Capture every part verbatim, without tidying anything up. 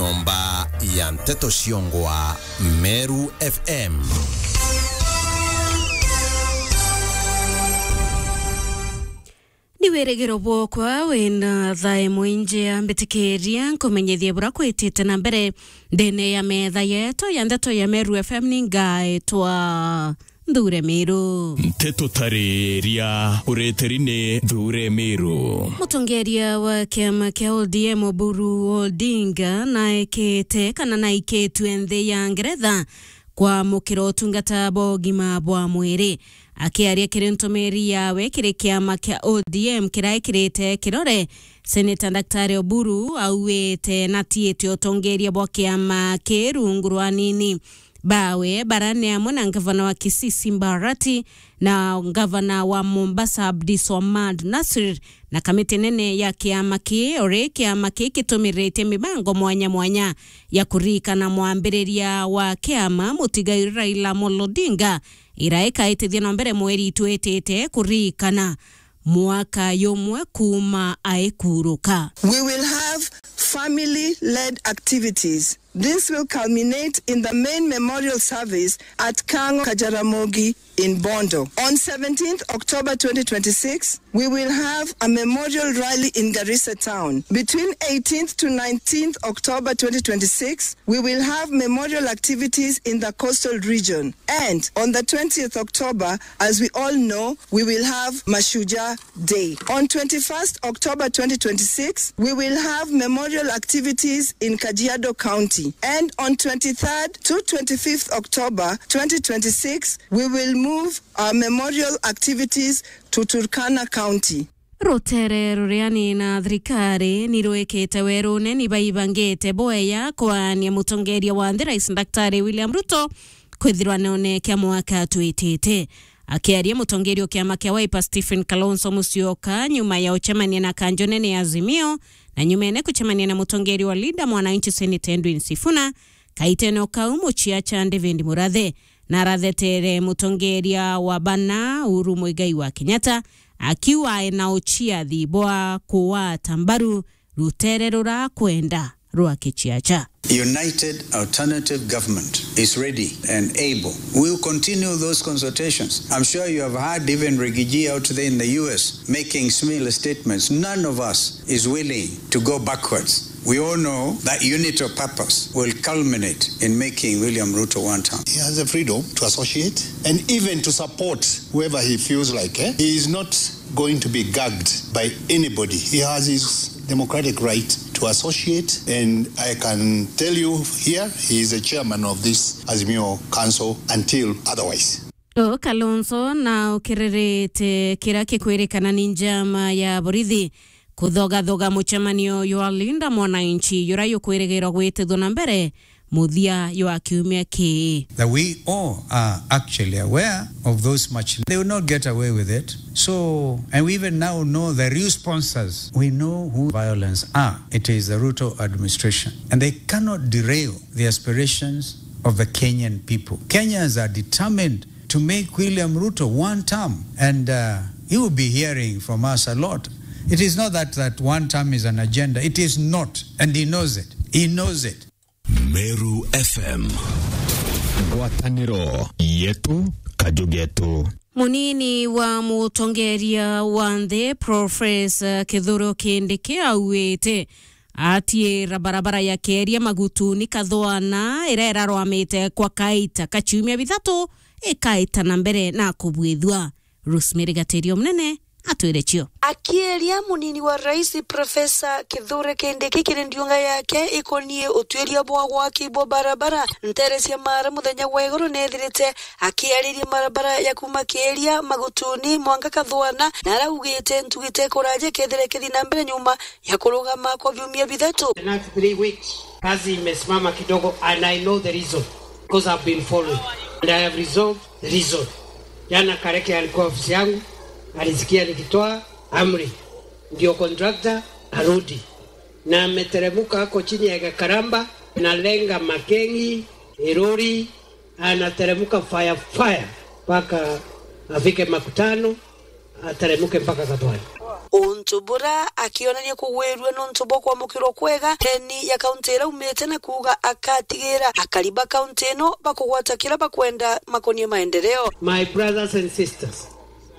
Nyomba ya nteto ciongwa Meru F M. Ni wirigiro bwokwa wina thaa imwe injea, mbitikiria nkumenyithie bura kwitite na mbere ndene ya metha yetu ya ndeto ya Meru F M. Ni ngaetwa Nthure Miru. Nteto tariria ureteri ni Nthure Miru. Mutongeria wa kiama kia O D M Oburu Odinga naekete kana naikitue nthi ya Ngeretha kwamukira utungata bwa ugima bwa mwiri. Akiaria kiri ntumiri yawe kiri kiama kia O D M kiraikirite kirore, Senator Daktari Oburu auite natiite utongeria bwa kiama kii rungu rwa anini bawe bara ni amwe na ngavana wa Kisii Simba Arati na ngavana wa Mombasa Abdi Swamad Nasir na kamiti nene ya kiama kii, uri kiama kii kitumirite mibango mwanya mwanya ya kuririkana mwambiriria wa kiama mutigairi Raila Amolo Odinga, ira ikaitithia na mbere mweri itwitite kuririkana mwaka yumwe kuuma aikuruka. We will have family-led activities. This will culminate in the main memorial service at Kang'o Kajaramogi in Bondo. On seventeenth October twenty twenty-six, we will have a memorial rally in Garissa town. Between eighteenth to nineteenth October twenty twenty-six, we will have memorial activities in the coastal region. And on the twentieth October, as we all know, we will have Mashujaa Day. On twenty-first October twenty twenty-six, we will have memorial activities in Kajiado County. And on twenty-third to twenty-fifth October twenty twenty-six, we will move our memorial activities to Turkana County. Rutere ruriani na thirikari ni rwikite werune ni baibangite bwega kwaania mutongeria wa nthi Rais Daktari William Ruto kwithirwa none kia mwaka twitite. Akiaria mutongeria wa kiama kia Wiper Stephen Kalonzo Musyoka nyuma ya ucemania na kanjo nene ya Azimio na nyumene kucemania na mutongeria wa Linda Mwananchi Senator Edwin Sifuna, kaitene o kau muciacha David Murathe narathetere mutongeria wa bana Uhuru Muigai wa Kenyatta akiuga ena uciathi bwa kuwata mbaru rutere rurakwenda rwa kichiacha. United Alternative Government is ready and able. We will continue those consultations. I'm sure you have heard even Rigiji out there in the U S making similar statements. None of us is willing to go backwards. We all know that unity of purpose will culminate in making William Ruto one term. He has the freedom to associate and even to support whoever he feels like, eh? He is not going to be gagged by anybody. He has his democratic right to associate, and I can tell you here, he is the chairman of this Azimio Council until otherwise. O Kalonzo na ukiririte kira kikwirikana ni njama ya borithi kuthogathoga mucemanio jwa Linda Mwananchi jura jukwirigirwa gwitithwa na mbere muthia jwa kiumia kii. That we all are actually aware of those much. They will not get away with it. So, and we even now know the real sponsors. We know who violence are. It is the Ruto administration. And they cannot derail the aspirations of the Kenyan people. Kenyans are determined to make William Ruto one term, and, uh, you will be hearing from us a lot. It is not that, that one term is an agenda. It is not, and he knows it. He knows it. Meru F M. Ngwataniro yetu, kaju getu. Munini wa mutongeria wa nthi, Professor Kithure Kindiki, auite atiira barabara ya Keria Magutuni Kathwana, ira irarwamite kwa kaita ka ciumia bithatu, ikaita na mbere na kubwithua. Rosemary Gatirio Munene atwire cio. Akiaria, munini wa rais Professor Kithure Kindiki kiri ndiunga yake ikonie utuiria bwa gwaki bwa barabara ntere cia Mara muthenya wa iguru nethirite akiariria barabara ya kuma Keria Magutuni mwanka Kathwana, na araugite ntugi te kuraja kethire kithi na mbere nyuma ya kurugama kwa viumia bithatu. The next three weeks, kazi imesimama kidogo, and I know the reason, because I've been following, and I have resolved the reason. Jana Kareke alikuwa ofisi yangu, alisikia nikitoa amri, ndio contractor arudi, na ameteremuka ako chini ya Gakaramba, analenga Makengi, Iruri, anateremuka fire fire mpaka afike Makutano, ateremuke mpaka Kathwani. Untu bura akionania kugwirua nontu bwa kwamukirwa kwega ndeni ya kaunti iria aumite, na kuuga akatigira akari ba kaunti ino bakugwata kiria bakwenda makonie maendeleo. My brothers and sisters,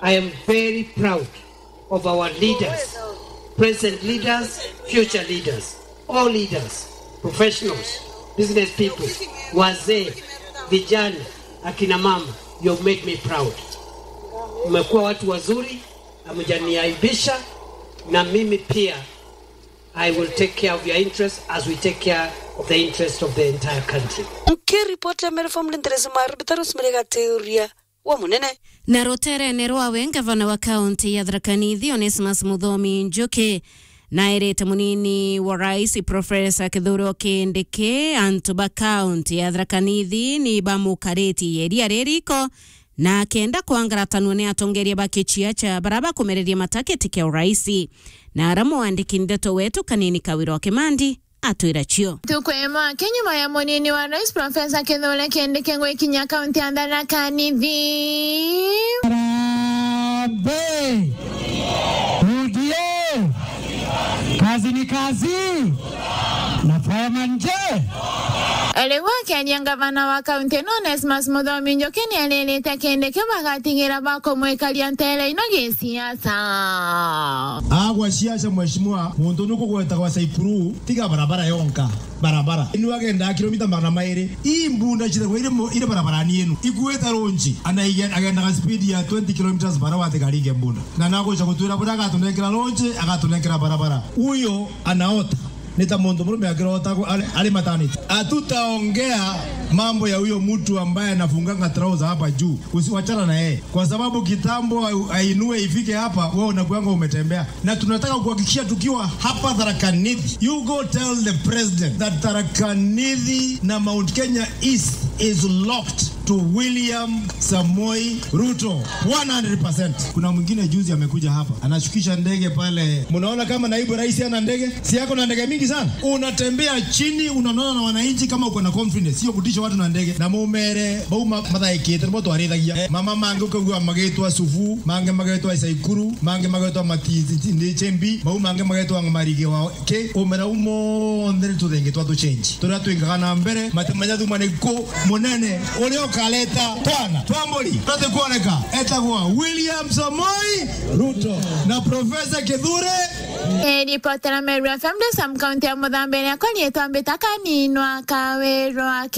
I am very proud of our leaders, present leaders, future leaders, all leaders, professionals, business people, wazee, vijana, akina mama, you have made me proud. Mmekuwa watu wazuri, hamjaniaibisha, na mimi pia I will take care of your interests as we take care of the interest of the entire country. Nkiripoti ya Meru F M, Nderesi Maru, Bitaro Simere Gaturia wa Munene. Na ruterene rwawe, ngavana wa kaunti ya Tharaka Nithi, Onesmus Muthomi Njuki, nairite munini wa rais, Profesa Kithure Kindiki, antu ba kaunti ya Tharaka Nithi ni bamukaritie iria ririko, na akenda kwangaratanua ni atongeria ba kiciaca bara bakumereria matakiti kia uraisi. Na ara mwandiki ndeto wetu Kanini Kawira wa Kimandi atwira cio. Ntuku imwe aki nyuma ya munini wa rais Profesa Kithure Kindiki gwikinya kaunti ya Tharaka Nithi. Harambee! U D A! Kazi ni kazi! Na fireman je! Riu akiaria, ngavana wa kaunti ino Onesmus Muthomi Njuki ni aririte Kindiki bagatigira bakumwikaria ntere ino gisiasa. Agwa siasa, mheshimiwa, muntu nukugwetagwa Saikuru, tiga barabara yonka. Barabara. Inu agendaa kilomita magana mairi. Ii mbunda cithagwa iri mu-, iri barabarani inu. Ikuite lonji. Ana ige-, agendaga speed ya twenty kilometers bara watigari inge mbunda. Na naguca gutwira buria agatunenkera lonji, agatunenkera barabara. Uyo anaota. Ni ta muntu murume akirota ku-, ari, ari maternity. Hatutaongea mambo ya huyo mtu ambaye anafunganga trouser hapa juu. Usiwachana na yeye. Kwa sababu kitambo ai-, ainue ifike hapa, wewe unakuanga umetembea. Na tunataka kuhakikisha tukiwa hapa Tharaka Nithi, you go tell the president that Tharaka Nithi na Mount Kenya East is locked to William Samoei Ruto one hundred percent. Kuna mwingine juzi amekuja hapa, anashukisha ndege pale. Mnaona kama naibu rais ana ndege? Si yako na ndege mingi sana? Unatembea chini, unaonana na wananchi kama uko na confidence. Sio kutisha watu na ndege. Na mumere, bau ma-, mathaikite, nibo twarithagia. Eh, mama mangi ukaigua magitwa Sufu, mangi magitwa Isaikuru, mangi magitwa Mati-, Ti-, Ti-, Chembi, bau mangi magitwa Marigi wa ki, umera u monthe ni tuthengi twa tu change. Turia twingaga na mbere, matemenya thuma ni ku munene, uria ukareta twana twa mburi, tuti kuoneka, etagwa William Samoei Ruto na Professor Kithure. Eh, ripotera Meru F M, Sam County ya Muthambe, ni akwa rietwa Mbita Kaninwa Kawirwa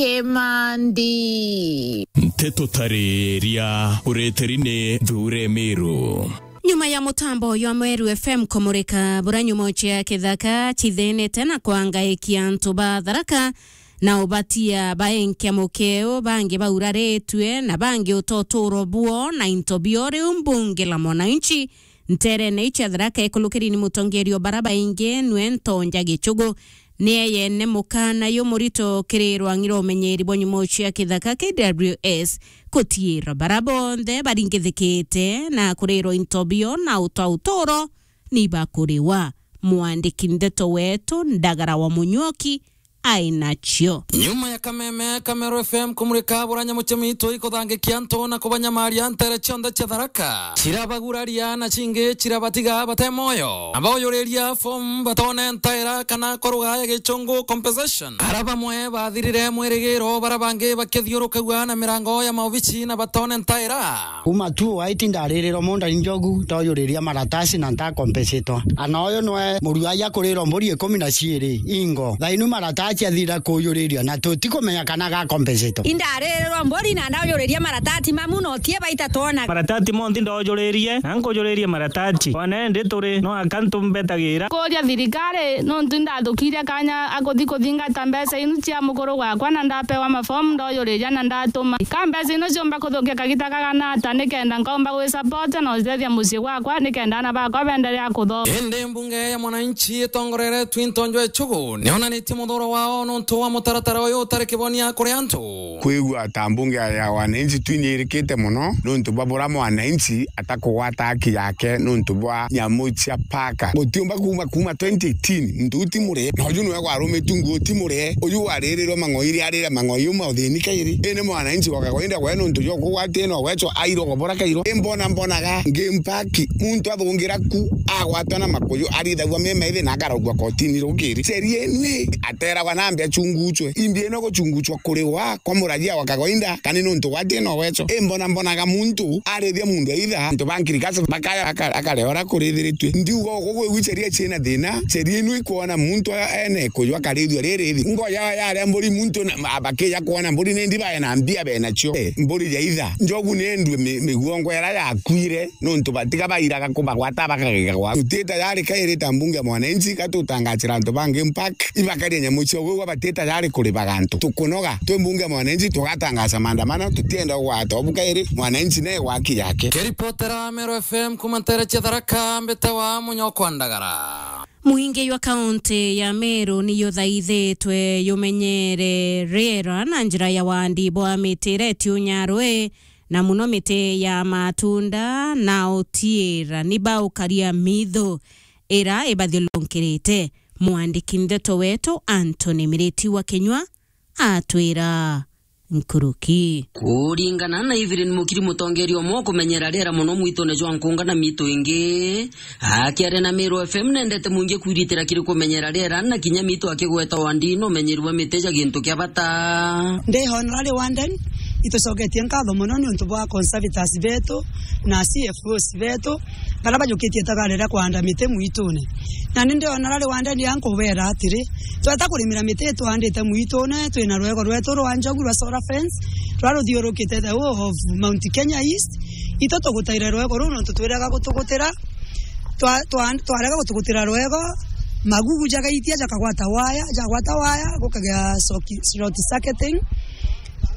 Kimandi. Nteto tariria ureteri ni Thure Meru. Nyuma ya mutambo uyu wa Meru F M kumurika buria nyumo cia kithaka cithinite na kwangaikia antu ba Tharaka na ubatia baenkia mukeo, bangi bauraritue na bangi utoturo buo na into bio, riu mbunge la mwananchi nterene iu cia Tharaka ikulukiri ni mutongeria o bara baingi nwe Ntonja Gichugu. Ni eyene mukana yu murito kiri rwang'i rwa umenyeri bwa nyumo cia kithaka K W S kutiira bara bonthe baringithikite na kurirwa into bio na uta uturo ni bakuriwa. Mwandiki ndeto wetu Ndagara wa Munyuoki ai nacio. Nyuma ya kameme ka Meru F M kumurika buria nyumo cia miitu ikuthangikia antu na kubanyamaria ntere cionthe cia Tharaka, cirabaguraria na cingi cirabatiga bate moyo. Na bauyuriria fomu batone ntaira kana kwa lugha ya Gichungu compensation. Ara bamwe bathirire mwirigiro, bara bangi bakithiurukagua na mirango ya maobici na batone ntaira. Kuma two eight ndaririrwa munda ni njogu, ndoyuriria maratasi na ntakompesitwa. Ana uyu nwe murua aja kurirwa mburi ikumi na ciiri ingo. Thainu maratasi athira kuyuriria na tutikumenya kana gakompesitwa. Indaririrwa mburi na ndaujuriria maratasi mamu na utie baita twona. Maratasi monthi ndojuririe, na nkujuririe maratasi. One ndi turi, no aka ntumbetagira. Kuria thirikari, nontu ndathukirie kanya akuthi kuthingata mbeca inu cia mukuru gwakwa, na ndapewa mafomu ndoyuriria na ndatuma. Ka mbeca ino ciumba kuthukia kagita kagana ata, nikenda nkaumba gwisupport na ucethia mucii gwakwa, nikenda ana bakwa benderea kuthoma. Indi mbunge ya mwananchi itongoreretwe Ntonjo Echugu nionanitie muthuro wa o nontu wa mutaratara uyu utari kibonia kuri antu. Kwigua ta mbunge ya wananchi twinyirikite mono nontu bwa bura mwananchi atakugwata haki yake nontu bwa nyamu cia paka. Gutiumba kuma, kuma twenty eighteen, muntu uyu ti murie. Na uyu niwe gwarumitu nguo ti murie. Uyu waririrwe mang'oi iri arire mang'oi uma uthini kairi. Indi mwananchi wa kawaida gwe nontu jwa kugwatia no wecho airwo gobora kairo. Imbona mbonaga game park, muntu athungira ku, agwatwa na makuyu, arithagua mema ithi na akaraugua kotini rukiri. Sheria ni ateragwa na mbi achunguchwe. Imbi ino guchunguchwa kuriwa kwa murajia wa kawaida, kani nontu gwatie no wecho. Imbona mbonaga muntu arithia mundu aitha, antu ba nkirikasi bakaya aka-, akareora kurithiritue. Ndiuga ugu gwigwi sheria ciina thina, sheria inu ikwona muntu a-, ene kuyu akarithua ririthi. Ngoya yaria mburi muntu na, ma-, bakija kwona mburi ni ndi bae na mbia be nacio. Eh, mburi ya itha. Njogu ni endue mi-, miguongo ira yakuire, nontu batiga bairaga kubagwata bakagega gwa. Tuti tayari kairi ta mbunge ya mwananchi, ka tutangachira antu ba game park, ibakaria nyamu cio gwigua bati tayari kuribaga antu. Tukunoga, twi mbunge ya mwananchi, tugatangacha maandamano, tutienda kugwata obu kairi, mwananchi ne gwaki yake. Keripotera Meru F M kuma ntere cia Tharaka, mbitawa Munyokwa Ndagara. Mwingi jwa kaunti ya Meru ni juthaithitwe jumenyere riera na njira ya wandi bwa miti iria itiunyarwe, na muno miti ya matunda na utiira ni baukaria mitho ira ibathiurunkirite. Mwandiki ndeto wetu Anthony Miriti wa Kinyua atwira nkuruki. Kuringana na Evelyn Mukiri, mutongeria umwe wa kumenyera riera muno mwitune jwa Nkunga na mitu ingi, akiaria na Meru F M, nendete mwingi kwiritira kiri kumenyera riera na kinya mitu akigweta wandi na umenyeri bwa miti ja gintu kia bata. Ndi honorary warden, itucoketie nkatho muno ni untu bwa conservators betu na C F Os betu, baria bajukitie itagari ria kuanda miti mwitune. Na ni ndiona rari wandeni ankubera atiri, tweta kurimira miti itwandite mwitune, twina rwego rwetu rwa njogu rwa solar fence, ruria ruthiurukite the whole of Mount Kenya East. Itu tugutaire rwego ruu nontu twirega gutugutira. Twa-, twa-, twarega gutugutira rwego, magugu jagaitia jakagwata waya, jagwata waya, gukagia soki-, short circuiting.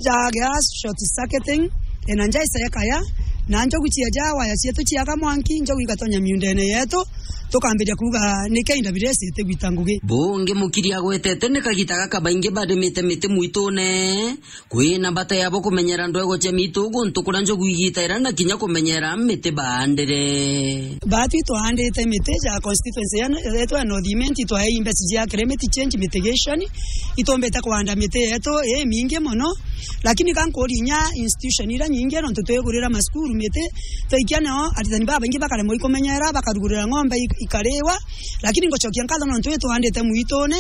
Jagea short circuiting, ena nja icekaya, na njogu ciaja waya cietu ciaga mwanki, njogu igatonya miundene yetu, tukambiria kuuga, "Niki inda biria icite gwita ngugi?" Bungi Mukiri agwetete ni kagita gaka baingi barimite miti mwitune, kwina bata yabo kumenyera ndwego cia mitu guntu kuria njogu igitaira na kinya kumenyera miti baandire. Baatwi twaandite miti ja constituency ya, yetu ya North Imenti, twaei mbeca cia climate change mitigation, itumbite kuanda miti yetu imingi mono, lakini ka nkuria inya institution iria nyingi, nontu twigurira masukuru miti, twaikia nao aritani babaingi bakaremwa ikumenyera, bakarugurira ng'ombe ik-, ikariwa, lakini ngucokia nkatho nontu itwandite mwitune,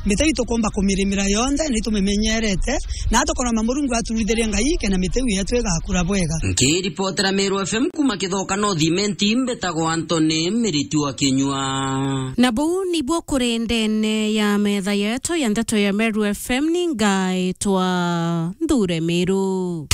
miti itukumba kumirimira yonthe, na itumimenyerete, na tukoromba Murungu aturithirie Ngai, kena miti iu yetu igakura bwega. Nkiripotera Meru F M kuma Kithoka North Imenti, mbitagwa Anthony Miriti wa Kinyua. Na buu nibuo kuri ndene ya metha yetu ya ndeto ya Meru F M, ni ngaitwa Nthure Miru.